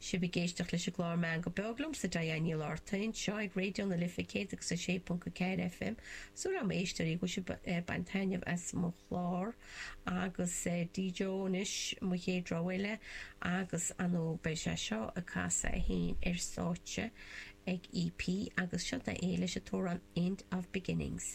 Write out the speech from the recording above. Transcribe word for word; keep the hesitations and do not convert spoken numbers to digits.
Sibh ag éisteacht leis an gclár Meangadh Beo liomsa Diane Ní Laifeartaigh anseo ag Raidió na Life céad agus a sé ponc a ceathair FM. Súil agam a éisteoirí go bhfuil sibh ag baint taitneamh as mo chlár agus D.Joe anois mo chéad rogha eile agus ar ndóigh beidh sé seo ag casadh é féin ar stáitse ag EP agus seo é leis an t-amhrán End of Beginnings.